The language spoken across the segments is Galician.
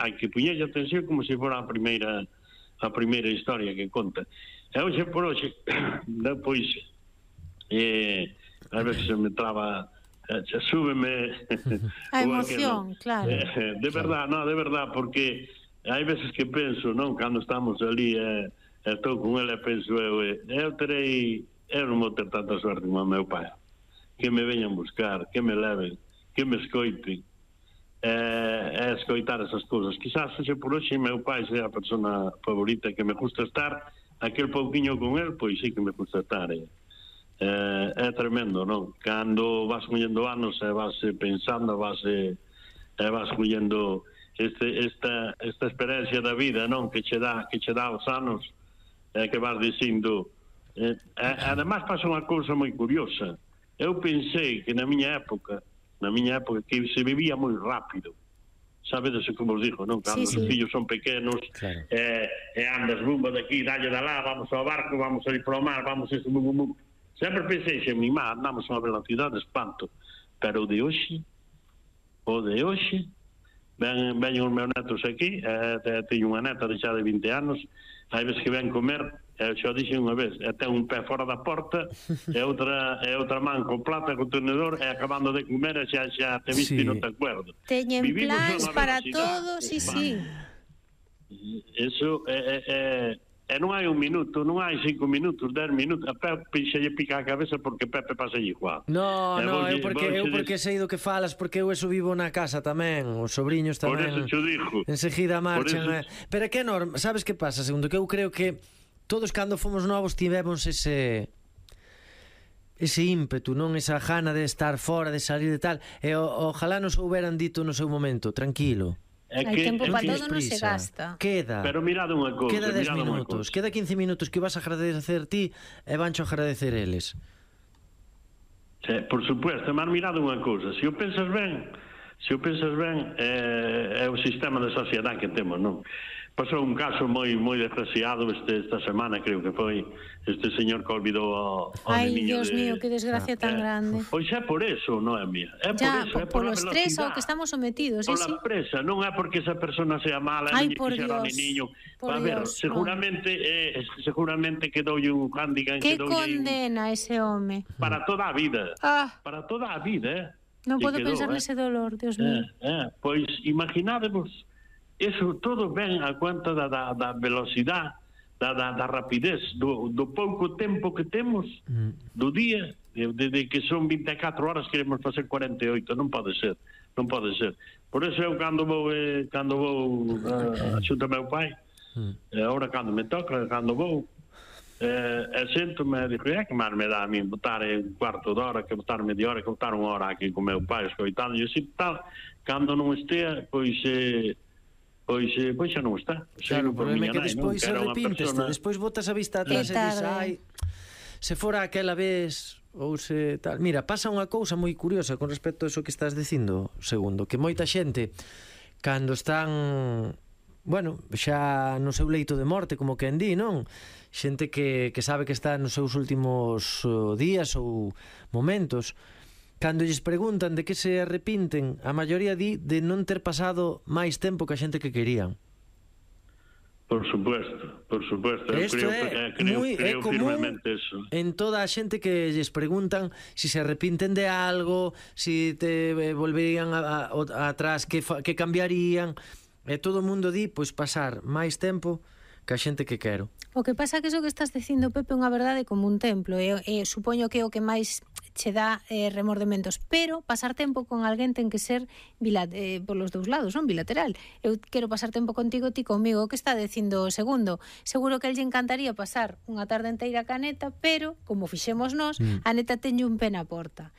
hai que poñerlle atención como se fora a primeira historia que conta. E hoxe por hoxe, depois, a ver se me traba, súbeme a emoción, claro. De verdad, porque hai veces que penso, non, cando estamos ali estou con ele e penso eu non vou ter tanta sorte como o meu pai, que me veñan buscar, que me leven, que me escoiten, escoitar esas cousas. Quizás hoxe por hoxe meu pai sea a persona favorita, que me gusta estar aquel pouquiño con el, pois sí que me gusta estar. É tremendo, non? Cando vas collendo anos e vas pensando, vas collendo esta experiencia da vida, non? Que che dá os anos, que vas dicindo. Además pasa unha cousa moi curiosa. Eu pensei que na miña época que se vivía moi rápido. Sabedes como os digo, non? Cando os fillos son pequenos, andas rumbo daqui, dalle da lá, vamos ao barco, vamos a ir para o mar, vamos a isto, sempre pensei que mi má andamos a unha velocidade de espanto, pero o de hoxe veñen os meus netos aquí, teño unha neta xa de 20 anos, hai veces que ven comer, xa dixen unha vez, ten un pé fora da porta e outra man con plata, con tenedor, e acabando de comer e xa te viste e non te acuerdo. Teñen plans para todos, sí. Eso e non hai un minuto, non hai 5 minutos, 10 minutos, a Pepe xa lle pica a cabeza porque Pepe pasa igual. No, eu porque sei do que falas, porque eu eso vivo na casa tamén, os sobrinhos tamén. Por eso xo dixo. Enseguida marchan. Pero é que enorme, sabes que pasa, segundo, que eu creo que todos cando fomos novos tivemos ese ímpetu, non? Esa gana de estar fora, de salir de tal, e ojalá nos houberan dito no seu momento, tranquilo. Hai tempo para todo, non se gasta. Queda. Pero mirad unha cousa. Queda 10 minutos, queda 15 minutos que vas a agradecer ti e vancho a agradecer eles. Por supuesto, mas mirad unha cousa. Se o pensas ben, é o sistema de sociedade que temos, non? Pasou un caso moi desgraciado esta semana, creo que foi este señor que olvidou ao niño. Dios mío, que desgracia tan grande. Pois é por eso, non é mía. É por eso, é polo estrés ao que estamos sometidos, pola presa, non é porque esa persona sea mala, non lle quixera o niño. A ver, seguramente quedoulle un handicap, que condena ese home para toda a vida. Para toda a vida, Non podo pensar nese dolor, Dios mío. Pois imaginádevos. Eso todo ven a cuenta da velocidade, da rapidez, do pouco tempo que temos, do día, de que son 24 horas queremos facer 48, non pode ser. Por eso eu cando vou a xunta meu pai, agora cando me toca, cando vou, sento-me e digo, que máis me dá a mí botar un cuarto de hora, que botar media hora, que botar unha hora aquí con meu pai, escoitando, e assim tal, cando non estea, pois xa non está. Claro, o problema é que despois se arrepinteste, despois botas a vista atrás e dis, se fora aquela vez, ou se tal. Mira, pasa unha cousa moi curiosa con respecto a eso que estás dicindo, segundo, que moita xente, cando están, xa no seu leito de morte, como quen di, non? Xente que sabe que está nos seus últimos días ou momentos, cando lles preguntan de que se arrepinten, a maioría di de non ter pasado máis tempo que a xente que querían. Por supuesto. Isto é común en toda a xente que lles preguntan si se arrepinten de algo, si te volverían atrás, que cambiarían, e todo o mundo di, pois, pasar máis tempo que a xente que quero. O que pasa que iso que estás dicindo, Pepe, é unha verdade como un templo, e supoño que é o que máis che dá remordementos, pero pasar tempo con alguén ten que ser polos dous lados, non? Bilateral. Eu quero pasar tempo contigo, ti comigo. O que está dicindo o segundo? Seguro que a lle encantaría pasar unha tarde inteira ca neta, pero, como fixemos nós, a neta teñe un pé na porta.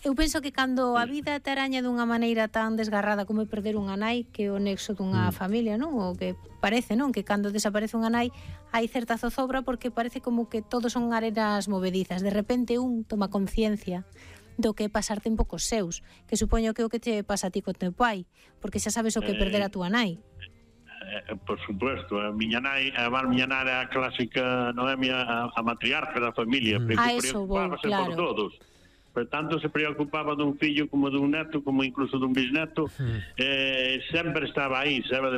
Eu penso que cando a vida te araña dunha maneira tan desgarrada como é perder unha nai, que é o nexo dunha familia, non? O que parece, non? Que cando desaparece unha nai hai certa zozobra porque parece como que todos son arenas movedizas. De repente un toma conciencia do que é pasar tempo cos seus, que supoño que é o que te pasa a ti co teu pai, porque xa sabes o que é perder a túa nai. Por supuesto, a miña nai era a clásica Noemia, a matriarca da familia, preocupábase por todos. Por tanto, se preocupaba dun fillo como dun neto, como incluso dun bisneto, sempre estaba aí, sabe,